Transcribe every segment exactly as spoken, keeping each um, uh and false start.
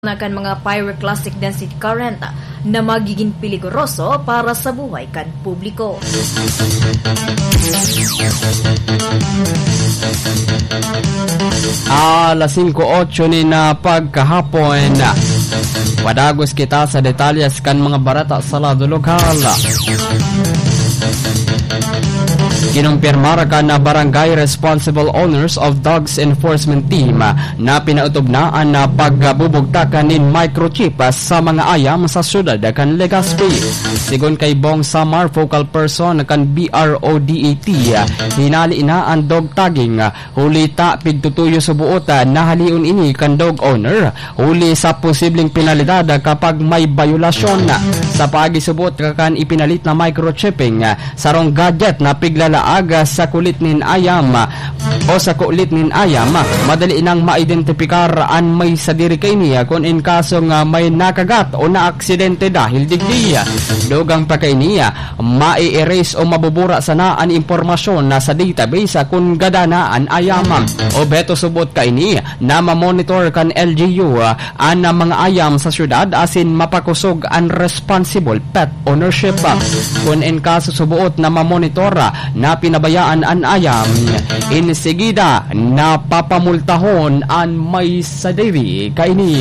na kan mga pyroclastic density current na magiging peligoroso para sa buhay kan publiko. Alas singko otso nin pagkahapon. Padagos kita sa detalyes kan mga bareta sa lado lokal. Kinumpirmar kan Barangay Responsible Owners of Dogs Enforcement Team na pinaotob na an pagbubugtak nin microchip sa mga ayam sa siyudad kan Legazpi. Sigon kay Bong Samar, focal person kan B R O D A T, hinali na an dog tagging, huli ta pigtutuyo suboot na halion ini kan dog owner, huli sa posibleng penalidad kapag may bayolasyon. Sa pagisuboot kan ipinalit na microchipping, sarong gadget na piglalaag sa kulit nin ayam o sa kulit nin ayam, madali nang maidentipikar an may sadiri kaini kun in kaso nga may nakagat o naaksidente dahil digdi. Dugang pa kaini, mai-erase o mabubura sana an impormasyon na sa database kun gada na an ayam. Obheto suboot kaini na mamonitor kan L G U an mga ayam sa syudad asin mapakosog an responsible pet ownership. Kun in kaso suboot na mamonitor na pinabayaan an ayam, insigida na papamultahon an may sadiri kaini.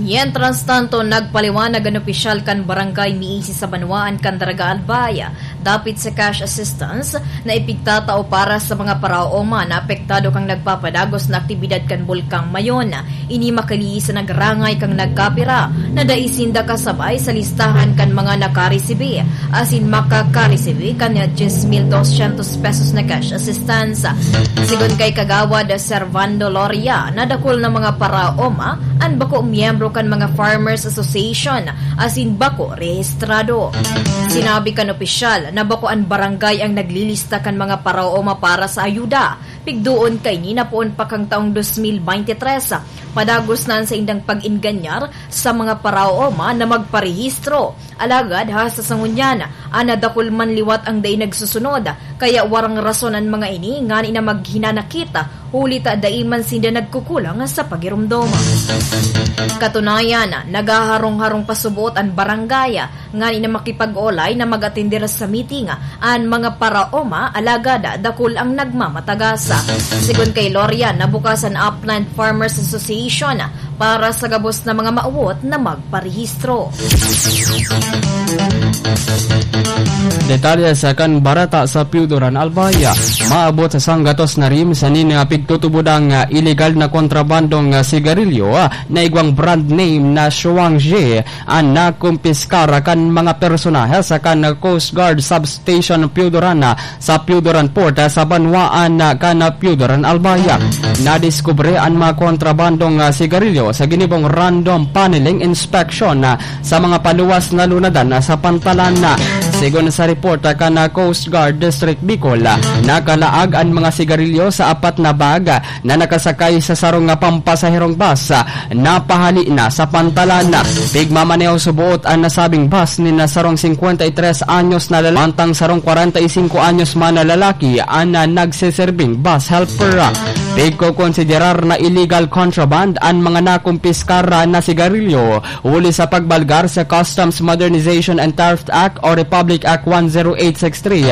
Mientras tanto, nagpaliwanag an opisyal kan barangay miisi sa banwaan kan Daraga Albay dapit sa cash assistance na ipigtatao para sa mga paraoma na apektado kan nagpapadagos na aktibidad kan Bulkang Mayon. Ini makaliis sa nagrangay kan nagkapira na dai sinda kasabay sa listahan kan mga nakaresibi asin makakaresibi kan diyes mil dosyentos pesos na cash assistance. Sigon kay Kagawad Servando Loria, nadakul na mga paraoma an bako miyembro kan mga Farmers Association asin bako rehistrado. Sinabi kan opisyal na bako an barangay ang naglilista kan mga paraoma para sa ayuda. Pigdoon kaini na poon pa kan taong dos mil bente tres, padagos na an saindang pag-enganyar sa mga paraoma na magparehistro. Alagad hasta sa ngunyan, an nadakul man liwat ang dai nagsusunod, kaya warang rason an mga ini ngani na maghinanakit, huli ta dai man sinda nagkukulang sa pagiromdom. Katunayan, naghaharong-harong pa suboot an barangay ngani na makipag-olay na mag-atender sa meeting an mga paraoma, alagad dakul ang nagmamatagas. Sigon kay Loria, nabukas an Upland Farmers Association para sa gabos na mga mawot na magparehistro. Detalye sa kan bareta sa Piyudoran, Albay. Maabot sa sanggatos na rim sa nin, ah, pigtutubodang, ah, iligal na kontrabandong, ah, sigarilyo, ah, na igwang brand name na Shuangji, an nakumpiskar kan mga personahe sa kan Coast Guard Substation Piyudoran, ah, sa Piyudoran Port, ah, sa banwaan, ah, kan Piyudoran, Albay. Nadiskubre an mga kontrabandong, ah, sigarilyo sa ginibong random panelling inspection, ah, sa mga paluwas na lunadan, ah, sa pantalan. Sigon sa report, ah, kan, ah, Coast Guard District Bicol, ah, nakalaag an mga sigarilyo sa apat na bag, ah, na nakasakay sa sarong, ah, pampasaherong bus, ah, na pahali na sa pantalan. Pigmamaneho suboot an nasabing bus nin sarong singkwenta y tres anyos na lalaki, mantang sarong kwarenta y singko anyos man na lalaki an, ah, nagseserbing bus helper. Pigkokonsiderar na illegal contraband an mga nakumpiskar na sigarilyo huli sa pagbalgar sa Customs Modernization and Theft Act o Republic Act one zero eight six three.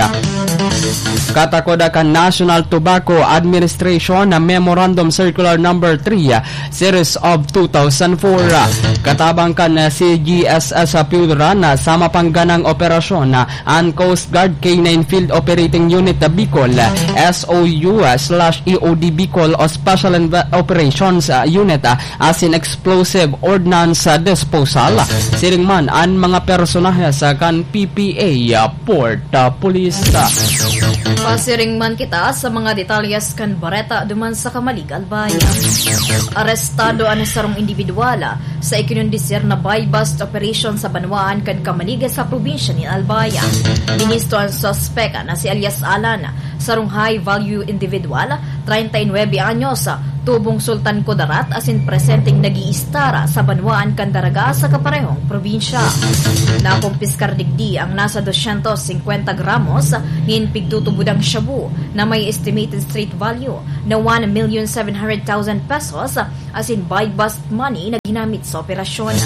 Katakod kan National Tobacco Administration na Memorandum Circular Number three, Series of two thousand four. Katabang kan C G S S Piyudoran sa mapangganang operasyon, an Coast Guard K nine Field Operating Unit Bicol, S O U slash E O D Bicol o Special Inve-, Operations, ah, Unit, ah, asin Explosive Ordnance, ah, Disposal. Siring man an mga personahe sa kan P P A, ah, Port, ah, Police. Pasiring man kita sa mga detalyes kan bareta duman sa Camalig, Albay. Arestado an sarong indibidwal sa ikinondisir na buy-bust operation sa banwaan kan Camalig sa probinsya nin Albay. Binisto an suspek na si alias Alan, sarong high-value individual, treinta y nuebe anyos, Tubong Sultan Kudarat asin presenteng nag-iistara sa banwaan kan Daraga sa kaparehong probinsya. Nakumpiskar digdi ang nasa dosyentos singkwenta gramos nin pigtutubodang shabu na may estimated street value na one million seven hundred thousand pesos asin buy-bust money na ginamit sa operasyon.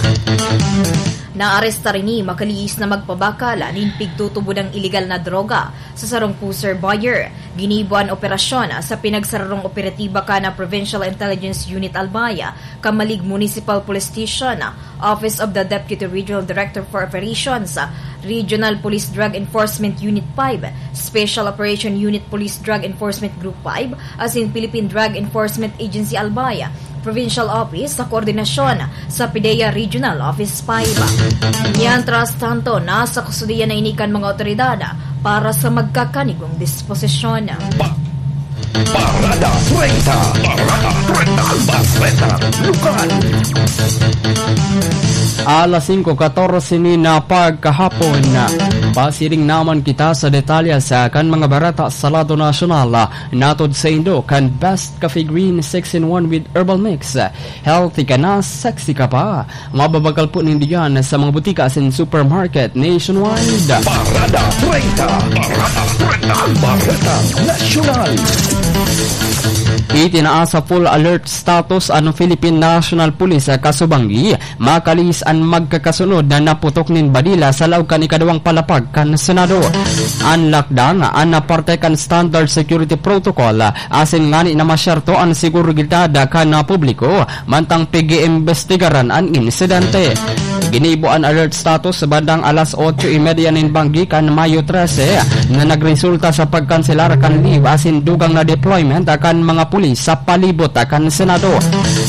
Naarestar ini makalihis na magpabakal nin pigtutubodang iligal na droga sa sarong pusher buyer. Ginibo an operasyon sa pinagsararong operatiba kan Provincial Intelligence Unit Albay, Camalig Municipal Police Station, Office of the Deputy Regional Director for Operations, Regional Police Drug Enforcement Unit five, Special Operation Unit Police Drug Enforcement Group five, asin Philippine Drug Enforcement Agency Albay, Provincial Office sa koordinasyon sa PDEA Regional Office five. Mientras tanto, nasa kustodiya na ini kan mga otoridad para sa magkakanigong disposisyon. Pa-, Parada treinta. Parada treinta. Bareta Lokal. Alas singko katorse ni na pagkahapon. Pasiring naman kita sa detalye sa kan mga bareta sa lado nasyonal. Natod sa indo kan Best Coffee Green six-in-one with Herbal Mix. Healthy ka na, sexy ka pa. Mababakal po nindigan sa mga butika asin supermarket nationwide. Parada treinta. Parada treinta. Bareta Nasyonal. Itinaas sa full alert status an Philippine National Police sa Kasubanggi, makalihis an magkakasunod na naputok nin badila sa laog kan ikaduwang palapag kan Senado. An lakdang, an parte kan standard security protocol, asin ngani na masyerto an seguridad kan publiko, mantang pig-iimbestigaran an insidente. Ginibo an alert status bandang alas otso y media nin banggi kan Mayo trese, na nagresulta sa pagkanselar kan leave asin dugang na deployment kan mga pulis sa palibot kan Senado.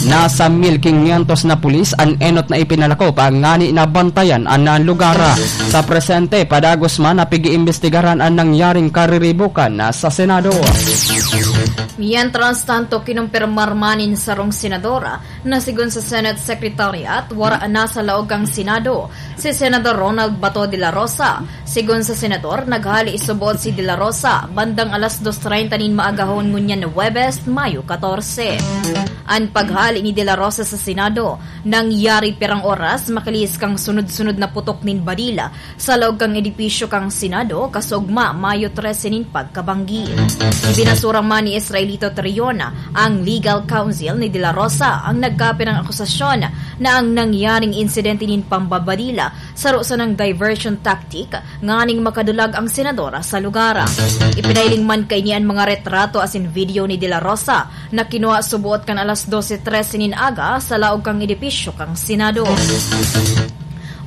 Nasa mil quinientos na pulis an enot na ipinalakop ngani na bantayan an lugar. Sa presente, padagos man na pig-iimbestigaran an nangyaring kariribukan sa Senado. Mientras tanto, kinumpirmar man nin sarong senador na sigon sa Senate Secretariat, wara na sa laog kan Senado si Senador Ronald Bato de la Rosa. Sigon sa senador, naghali subot si de la Rosa bandang alas dos treinta nin maagahon ngunyan na Huwebes, Mayo katorse. An paghali ni de la Rosa sa Senado nangyari pirang oras makalihis kan sunod-sunod na putok nin badila sa laog kan edipisyo kan Senado, kasugma, Mayo trese nin pagkabanggi. Ibinasura man ni Israelito Trion, ang legal counsel ni De La Rosa, ang nagkapirang akusasyon na ang nangyaring insidente nin pambabadila saro sanang diversion tactic nganing makadulag ang senador sa lugar. Ipinahiling man kaini an mga retrato asin video ni De La Rosa na kinua subot kan alas dose trese nin aga sa laog kan edipisyo kan Senado.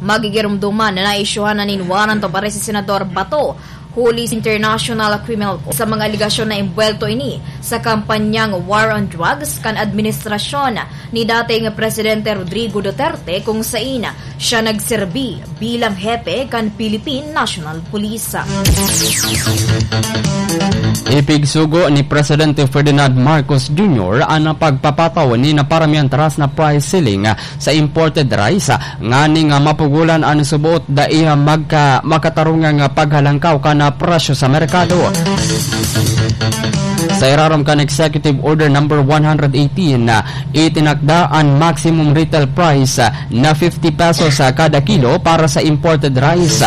Magigiromdoman na naisyuhan na nin warrant of arrest si Senador Bato huli sa International Criminal Court sa mga alegasyon na embwelto ini sa kampanyang War on Drugs kan administrasyon ni dating Presidente Rodrigo Duterte, kung sain siya nagserbi bilang hepe kan Philippine National Police. Ipigsugo ni Presidente Ferdinand Marcos Junior an pagpapataw ni na paramiyan taas na price ceiling sa imported rice, nganing mapugolan an subot dai magka-, makatarungang paghalangkaw kan presyo sa merkado. Sa irarom kan Executive Order Number one hundred eighteen, itinakda an maximum retail price na fifty pesos sa kada kilo para sa imported rice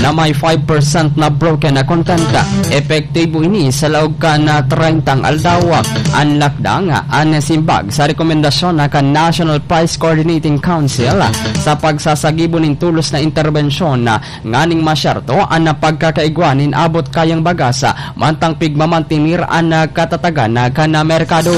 na may five percent na broken content. Epektibo ini sa laog kan trentang aldaw. An lakdang, an simbag sa rekomendasyon na kan National Price Coordinating Council sa pagsasagibo nin tulos na interbensyon nganing masyerto an pagkakaigwa nin abot kayang bagas, mantang pigmamantenir an katatagan kan merkado.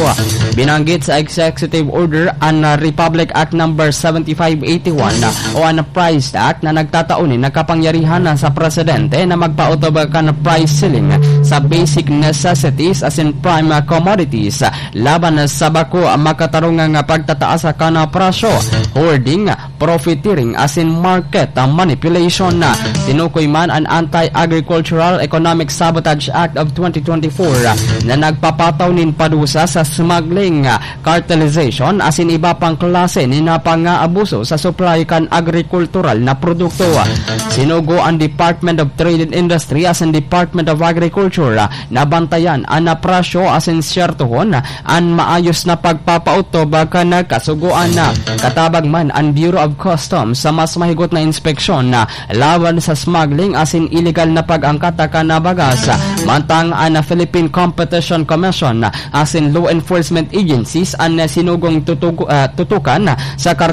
Binanggit sa Executive Order an Republic Act Number seventy-five eighty-one o an Price Act na nagtatao nin kapangyarihan sa presidente na magpaotob kan price ceiling sa basic necessities asin prime commodities laban sa bako makatarungang pagtataas kan presyo, hoarding, profiteering asin market manipulation. Tinukoy man an Anti-Agricultural Economic Sabotage Act of twenty twenty-four na nagpapataw nin padusa sa smuggling, cartelization asin iba pang klase nin pangaabuso sa supply kan agrikultural na produkto. Sinugo an Department of Trade and Industry asin Department of Agriculture na bantayan an presyo asin syertohon an maayos na pagpapautob kan kasugoan. Katabang man an Bureau of Customs sa mas mahigot na inspeksyon laban sa smuggling asin iligal na pag-angkat kan bagas. Mantang an Philippine Competition Commission asin law enforcement agencies an sinugong tutug-, ah, tutukan sa kartel